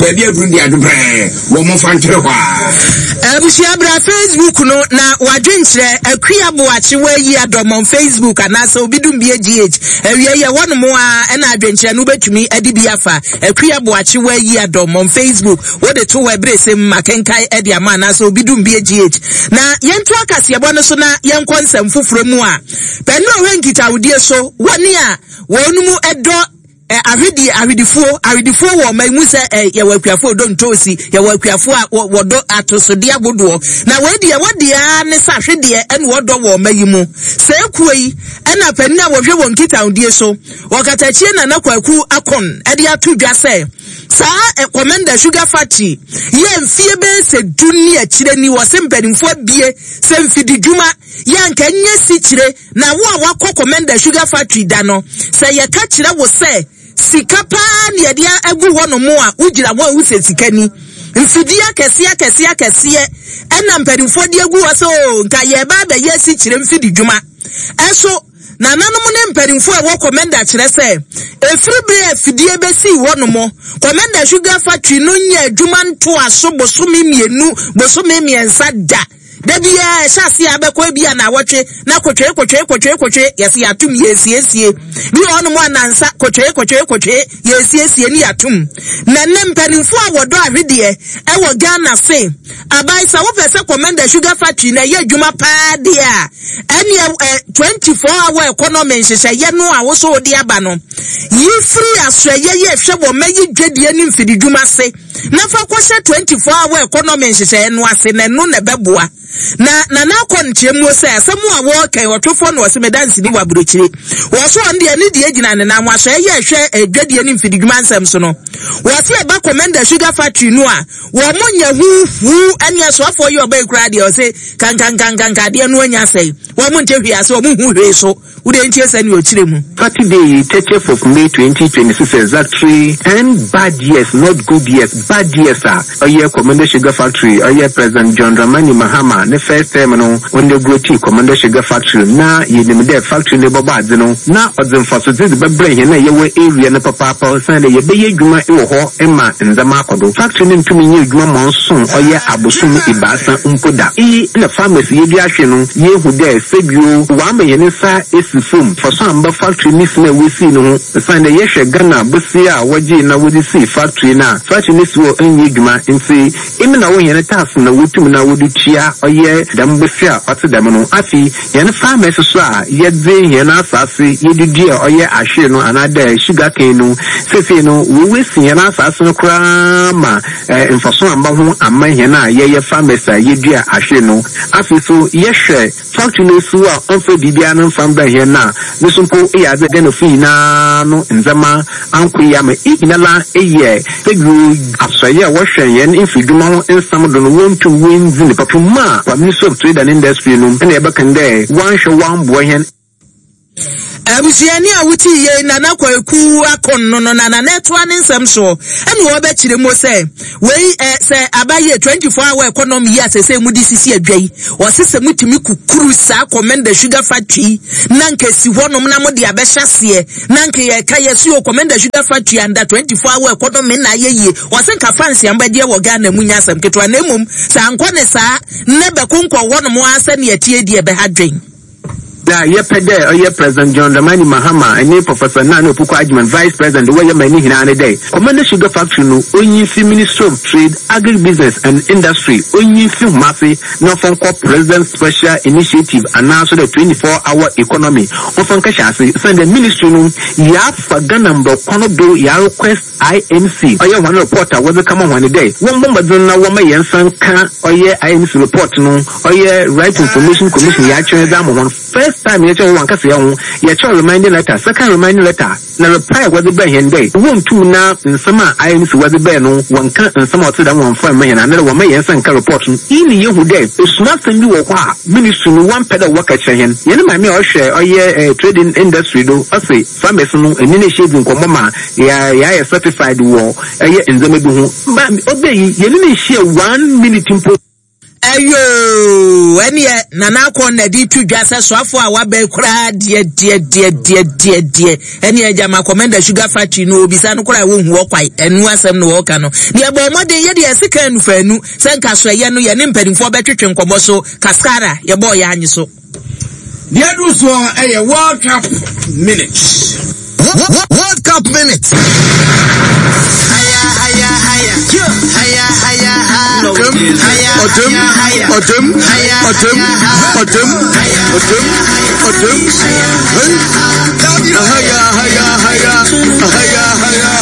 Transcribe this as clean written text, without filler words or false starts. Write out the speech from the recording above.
Baabi aduru de ado brɛɛ wɔ momfa ntwere hɔ aa. Abusua bra Facebook no na wadwenkyerɛ Akua Boakye wayi adɔm on Facebook anaasɛ obi dum bie GH awia yi ɛhɔ nom a ɛna adwenkyerɛ no wobɛtumi ade bi afa Akua Boakye wayi adɔm on Facebook wode to hɔ ɛberɛ sɛm makenkan ɛde ama anaasɛ obi dum bie GH na yɛnto akaseɛbɔ no so na yɛnkɔ nsɛm foforɔ mu a pɛne ɔhwɛ nkitahodie so wɔne a wɔn mu ɛdɔ Ɛ, ahwedeɛ, ahwedifoɔ, ahwedifoɔ wɔ ɔman mu sɛ ɛ, yɛwɔ akuafoɔ ɔdɔ ntoosi, yɛwɔ akuafoɔ a wɔ, wɔdɔ atosodeɛ ahodoɔ. Na wei deɛ, wɔdeɛ ara ne sɛ ahwedeɛ ɛna wɔdɔ wɔ ɔman yi mu. Saa kuo yi ɛna panin a wɔhwɛ wɔn nkitahodie so wɔ Katakyie Nana Kwaku Akon ɛde ato dwa sɛ saa ɛ, Komenda Sugar Factory yɛ mfie bɛyɛ sɛ du ne akyire ni wɔse mpanimfoɔ abie sɛ mfididwuma yɛ anka nyɛ sikyire Na wo a woakɔ Komenda Sugar Factory da no, sɛ yɛka kyerɛ wo sɛ sika paa na yɛde agu hɔnom a, wogyina hɔ a wosɛ sika ni. Mfidie akɛseɛ akɛseɛ akɛseɛ ɛna mpanimfoɔ de agu hɔ sɛ oo nka yɛreba abɛyɛ asikyire mfididwuma. Ɛso nananom ne mpanimfoɔ a ɛwɔ Komenda kyerɛ sɛ ɛfiri berɛ a afidie bɛsii hɔnom, Komenda Sugar Factory no nyɛ adwuma ntoaso bosome mmienu, bosome mmiɛnsa da. Da biara ɛhyɛ aseɛ a bɛkɔ ebi a naawɔtwe na kotwee kotwee kotwee kotwee yɛsɛ yɛatom yɛsiesie bi wɔ hɔnom a nansa kotwee kotwee kotwee yɛsiesie ne yɛatom. Na nnɛ mpanimfoɔ a wɔdɔ ahwedeɛ ɛwɔ Ghana se aban sɛ wopɛ sɛ Komenda Sugar Factory na ɛyɛ adwuma paa deɛ a ɛneɛ ɛ 24 hour economy nhyehyɛeɛ no a wosɔ wode aba no yi firi asoɛyɛ yɛ hwɛ wɔ mɛyi dwadie ne mfididwuma se na fa kɔhyɛ 24 hour economy nhyehyɛeɛ no ase na ɛno na ɛbɛboa. Na Nana akɔ nkyerɛmuo sɛ asɛm a wɔreka yi ɔtwefoɔ na ɔse meda nsini wɔ aburokyire. Wɔ so ɔno deɛ ne deɛ gyina ne nan ho aso ɛyɛ ɛhwɛ adwadie ne mfididwuma nsɛm so no. Wɔ se ɛba Komenda Sugar Factory no a wɔn nyɛ hu hu ɛne asoafoɔ yi ɔba yi koraa deɛ ɔse kankankankanka adeɛ no anya asɛe. Wɔn nte hwee ase wɔn nhu hwee so. Wo deɛ ntie sɛnea ɔkyerɛ mu. Saturday, 30th of May 2026 exactly 10 bad years not good years bad years a ɔyɛ Komenda Sugar Factory ɔyɛ President John Dramani Mahama ne first term no ɔinauguratii Komenda Sugar Factory na yenyim dɛ factory no bɔbɔ adze no na ɔdze mfasodze dze bɛbrɛ hɛn a yɛwɔ area no papaapa osiandɛ yɛbɛyɛ edwuma wɔ hɔ ma ndzɛmba akɔ do. Factory no nntum nnyɛ edwuma ma ɔnnso ɔyɛ abosoom ebiasa mpo da. Iyi na farmers yedua ahwe no yeehu dɛ sɛbio wɔama hɛn nsa esi famu, mfaso ammba factory ne sin a wosii no ho osiandɛ yɛhwɛ Ghana bosea a wɔgyee na wɔdze sii factory no a, factory no si hɔ nnyɛ edwuma ntsi emi na wo hɛn tax na wotum na wɔdze tua ɔyɛ dɛm bosea a ɔtse dɛm no. Afei hɛn farmers so a yɛdze hɛn asaase yɛdze dua ɔyɛ ahwer no anaadɛ sugar cane no, sesei no woesi hɛn asaase no koraa ma mfaso ammba ho amma hɛn a yɛyɛ farmers a yedua ahwer no. Afei so yɛhwɛ factory no esiw a ɔmmfa biribiara no mmfa mbrɛ hɛn no a, no so mpo yɛ adze a Ghanafo nyina no ndzɛmba annkɔ yie ama. Iyi nyinara yɛ sɛbio asoɛe a wɔhwɛ hɛn mfirdwuma ho nsɛm do no wonntum wonndzi no papa mu a Ministry of Trade and Industry no na yɛbɛka no dɛ wɔannhwɛ wɔammboa hɛn. Abusuani a wotii yei Nana Kwaku Akon no no na Nana ɛtoa ne nsɛm soɔ ɛna ɔbɛkyerɛ mu sɛ wei ɛ sɛ aba yɛ 24 hour economy yi a sɛsɛ mu de sisi adwa yi ɔse sɛ mutumi kukuru saa Komenda Sugar Factory yi na nka si hɔnom na mode abɛhyɛ aseɛ na nka yɛka yɛse o Komenda Sugar Factory under 24 hour economy na ayɛ yie ɔse nka fancy a mobɛgyeɛ wɔ Ghana mu nyɛ asɛm ketewa na mmom sɛ ankɔ ne saa na bɛkonkɔn hɔnom ara sɛnea ɛteɛ deɛ ɛbɛha dwen. Dza yɛpɛ dɛ ɔyɛ President John Dramani Mahama nye Professor Nana Opoku Agyemang, Vice President, wɔyɛ ma ne nyina ne dɛ, Komenda Sugar Factory no onyi mfi Ministry of Trade, Agribusiness and Industry, onyi mfi hom ase na ɔmfa nkɔ President's Special Initiative anaa so dɛ 24 Hour Economy ɔmfa nkɛhyɛ ase osiandɛ Ministry no yɛafa Ghana mbra kwan do yɛarequest IMC, ɔyɛ hɔn report a wɔdze kama hɔn dɛ wɔmbɔ mbɔdzen na wɔmma hɛn nsa nka ɔyɛ IMC report no, ɔyɛ Right to Information Commission yɛakyerɛ dze ama hɔn. First time yɛkyerɛ hɔn wɔannkasa hɛnho, yɛkyerɛw reminding letter, second reminding letter, na reply a wɔdze brɛɛ hɛn dɛ wonntum na nsɛm a IMC wɔdze brɛɛ no wɔnnkã nsɛm a ɔtse dɛm wɔmmfa mma hɛn anaadɛ wɔmma hɛn nsa nka report no. Iyi na yehu dɛ esumasɛm bi wɔ hɔ a Ministry no wɔmmpɛ dɛ wɔka kyerɛ hɛn. Hɛn maame a ɔhwɛ ɔyɛ trading industry do ɔse, Farmers no enye no ehyia edzi nkɔmbɔ ma yɛayɛ certified wɔ ɛyɛ ndzɛmba bi ho. Ba ɔbɛ yi yɛnye no nnhyia one minute mpo. Ɛyoo, ɛneɛ Nana Akon na de to dwa sɛ soafoɔ a waba yi koraa deɛ deɛ deɛ deɛ deɛ deɛ ɛneɛ gyama Komenda Sugar Factory no obisa no koraa wɔnhu hɔ kwae, ɛnu asɛm na wɔka no. Deɛ bɔ mmɔden yɛ deɛ ɛse kan nufaanu sɛ nka so ɛyɛ no yɛne mpanimfoɔ bɛtwetwe nkɔmmɔ so kaskara yɛbɔɔ yɛ anye so. Deɛ ɛduru soɔ yɛ World Cup minute. World Cup minute. Ọdum, ọdum, ọdum, ọdum, ọdum, ọdum, hey. Ahaya, ahaya, ahaya, ahaya, ahaya.